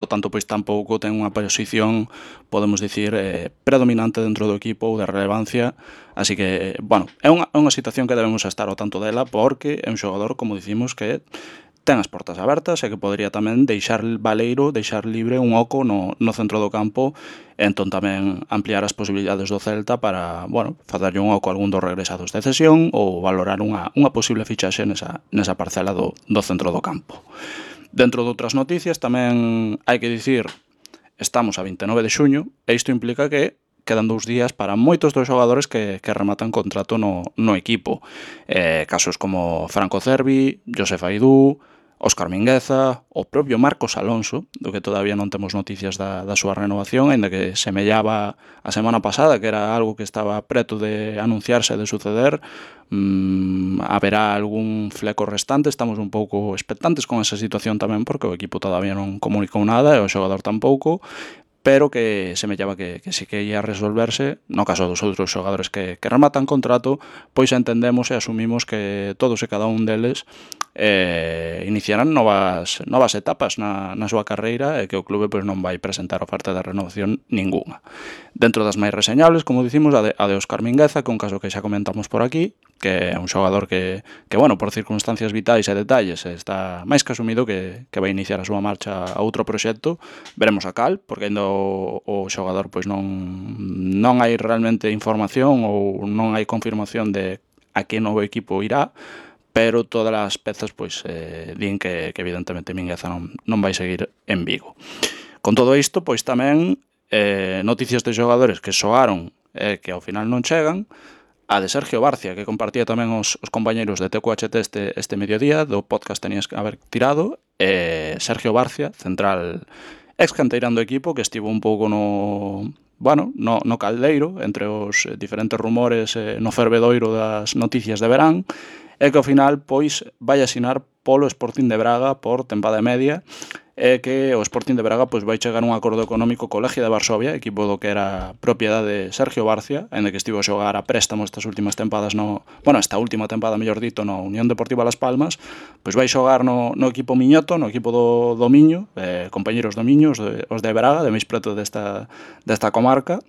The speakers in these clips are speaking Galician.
por tanto, pois tampouco ten unha posición, podemos dicir, predominante dentro do equipo ou de relevancia, así que, bueno, é unha situación que debemos estar ao tanto dela, porque é un xogador, como dicimos, que ten as portas abertas e que podría tamén deixar baleiro, deixar libre un oco no centro do campo, e entón tamén ampliar as posibilidades do Celta para, bueno, facerlle un oco a algún dos regresados de cesión ou valorar unha posible fichaxe nesa parcela do centro do campo. Dentro de outras noticias tamén hai que dicir, estamos a 29 de xuño e isto implica que quedan 2 días para moitos dos xogadores que rematan contrato no equipo. Casos como Franco Cervi, Josef Aidú, Óscar Mingueza, o propio Marcos Alonso, do que todavía non temos noticias da súa renovación, aínda que semellaba a semana pasada que era algo que estaba preto de anunciarse, de suceder. Haberá algún fleco restante, estamos un pouco expectantes con esa situación tamén, porque o equipo todavía non comunicou nada e o xogador tampouco, pero que semellaba que sí que ia resolverse. No caso dos outros xogadores que rematan contrato, pois entendemos e asumimos que todos e cada un deles iniciarán novas etapas na súa carreira e que o clube pois non vai presentar oferta de renovación ningunha. Dentro das máis reseñables, como dicimos, a de Óscar Mingueza, que é un caso que xa comentamos por aquí, que é un xogador que bueno, por circunstancias vitais e detalles está máis que asumido que vai iniciar a súa marcha a outro proxecto. Veremos a cal, porque ainda o xogador pois non hai realmente información ou non hai confirmación de a que novo equipo irá, pero todas as pezas pois din que evidentemente Mingueza non vai seguir en Vigo. Con todo isto, pois tamén noticias de xogadores que soaron e que ao final non chegan, a de Sergio Barcia, que compartía tamén os compañeiros de TQHT este mediodía, do podcast tenías que haber tirado, Sergio Barcia, central ex-canteirán do equipo, que estivo un pouco no caldeiro, entre os diferentes rumores no fervedoiro das noticias de verán, e que ao final pois vai asinar polo Sporting de Braga por tempada e media, e que o Sporting de Braga pois vai chegar a un acordo económico co Legia de Varsovia, equipo do que era propiedade de Sergio Barcia, aínda que estivo a xogar a préstamo estas últimas tempadas esta última tempada, mellor dito, no Unión Deportiva Las Palmas, pois vai xogar no equipo miñoto, no equipo do Miño, compañeros do Miño, os de Braga, de máis preto desta comarca,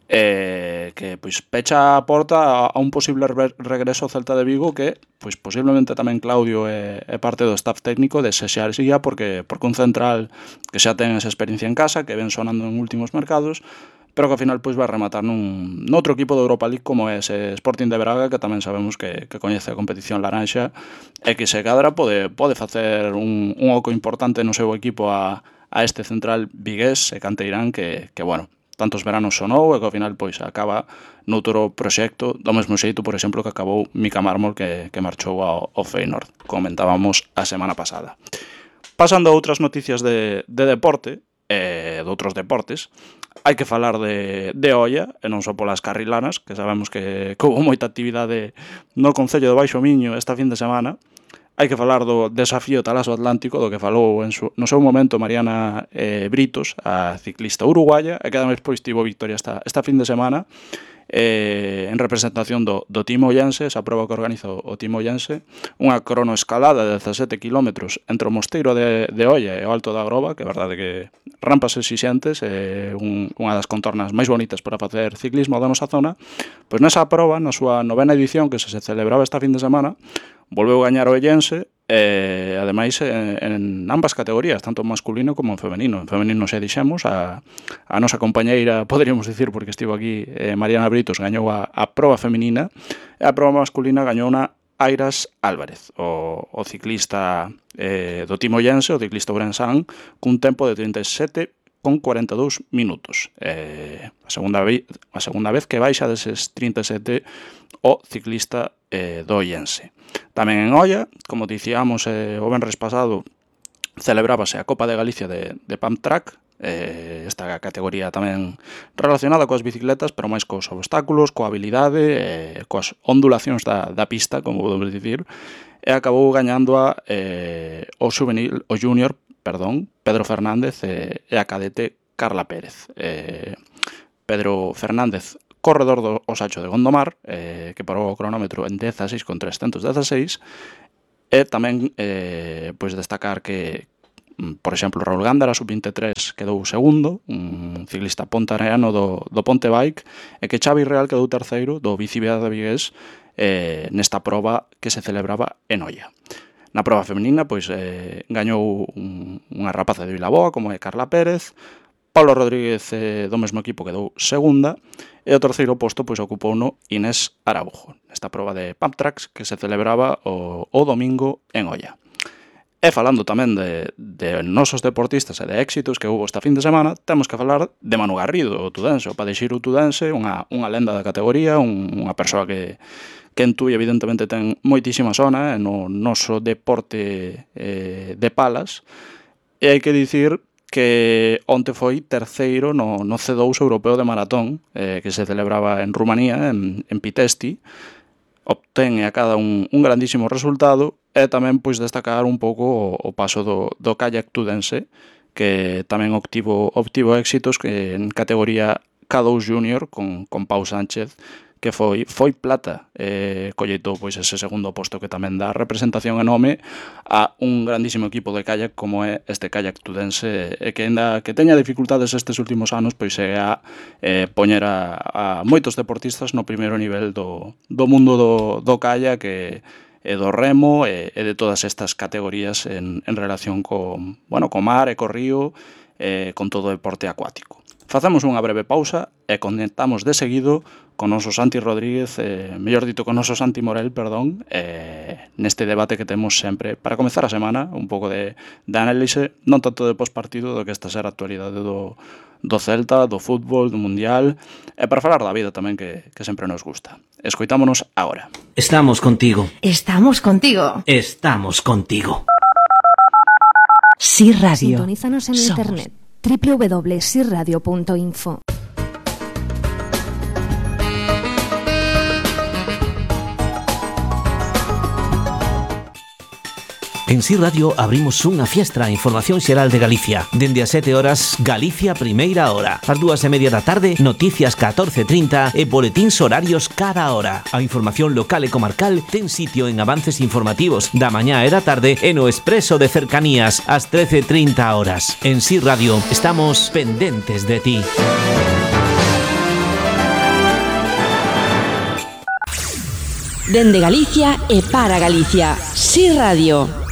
que pois pecha a porta a un posible regreso ao Celta de Vigo, que pois posiblemente tamén Claudio é parte do staff técnico desexaría, porque un central que xa ten esa experiencia en casa, que ven sonando en últimos mercados, pero que ao final pois vai rematar noutro equipo de Europa League como é ese Sporting de Braga, que tamén sabemos que coñece a competición laranxa e que se cadra pode facer un oco importante no seu equipo a este central vigués e canteirán que bueno, tantos veranos sonou e que ao final pois acaba noutro proxecto, do mesmo xeito, por exemplo, que acabou Mika Mármol, que marchou ao Feyenoord, comentábamos a semana pasada. Pasando a outras noticias de deporte, de outros deportes, hai que falar de olla, e non só polas carrilanas, que sabemos que houve moita actividade no Concello de Baixo Miño esta fin de semana. Hai que falar do desafío Talaso Atlántico, do que falou no seu momento Mariana Britos, a ciclista uruguaya, e que ademais pois tivo victoria esta fin de semana en representación do Team Ollense, esa prova que organiza o Team Ollense, unha cronoescalada de 17 km entre o Mosteiro de Olla e o Alto da Groba, que é verdade que rampas exixentes, unha das contornas máis bonitas para facer ciclismo da nosa zona. Pois nesa prova, na súa 9ª edición, que se celebraba esta fin de semana, volveu gañar o Ellense, ademais en ambas categorías, tanto masculino como en femenino. En femenino xa dixemos, a nosa compañeira, poderíamos dicir, porque estivo aquí, Mariana Britos, gañou a proba femenina, e a proba masculina gañou Airas Álvarez, o ciclista do Team Ollense, o ciclista ourensán, cun tempo de 37,42 minutos. A segunda vez que baixa deses 37 o ciclista do Ollense. Tamén en Olla, como dicíamos o venres pasado, celebrábase a Copa de Galicia de Pump Track, esta categoría tamén relacionada coas bicicletas, pero máis cos obstáculos, coa habilidade, coas ondulacións da pista, como podemos dicir, e acabou gañando o junior, Pedro Fernández e a cadete Carla Pérez. Pedro Fernández, corredor do Osacho de Gondomar, que parou o cronómetro en 16,316, e tamén pois destacar que Por exemplo, Raúl Gándara, sub-23, quedou segundo, un ciclista pontareano do Ponte Bike, e que Xavi Real quedou terceiro do Bicivía de Vigués nesta proba que se celebraba en Oia. Na proba femenina, pois, gañou unha rapaza de Vilaboa, como é Carla Pérez. Pablo Rodríguez do mesmo equipo quedou segunda, e o terceiro posto pois ocupouno Inés Araujo, nesta proba de Pump Tracks que se celebraba o domingo en Oia. E falando tamén de nosos deportistas e de éxitos que houve esta fin de semana, temos que falar de Manu Garrido, o tudense, o Padexiro tudense, unha lenda da categoría, unha persoa que en Tui evidentemente ten moitísima sona no noso deporte de palas, e hai que dicir que onte foi terceiro no C2 europeo de maratón que se celebraba en Rumanía, en Pitesti. Obtén a cada un grandísimo resultado, e tamén pois destacar un pouco o paso do kayak tudense, que tamén obtivo éxitos en categoría K2 Junior con Pau Sánchez, que foi plata, colleitou pois ese segundo posto que tamén dá representación e nome a un grandísimo equipo de kayak como é este kayak tudense, e que ainda que teña dificultades estes últimos anos, pois é a poñer a moitos deportistas no primeiro nivel do mundo do kayak e do remo e de todas estas categorías en relación co mar e co río, con todo o deporte acuático. Facemos unha breve pausa e conectamos de seguido con noso Santi Rodríguez, mellor dito con noso Santi Morel, perdón, neste debate que temos sempre para comezar a semana, un pouco de análise, non tanto de postpartido do que esta ser a actualidade do Celta, do fútbol, do Mundial, e para falar da vida tamén que sempre nos gusta. Escoitámonos agora. Estamos contigo. Estamos contigo. Estamos contigo. Sí Radio. Sintonízanos en internet www.sirradio.info. En Si Radio abrimos unha fiestra a información xeral de Galicia. Dende as 7 horas, Galicia Primeira Hora. Ás 2:30 da tarde, noticias 14:30 e boletíns horarios cada hora. A información local e comarcal ten sitio en avances informativos da mañá e da tarde e no expreso de cercanías ás 13:30 horas. En Si Radio estamos pendentes de ti. Dende Galicia e para Galicia. Si Radio.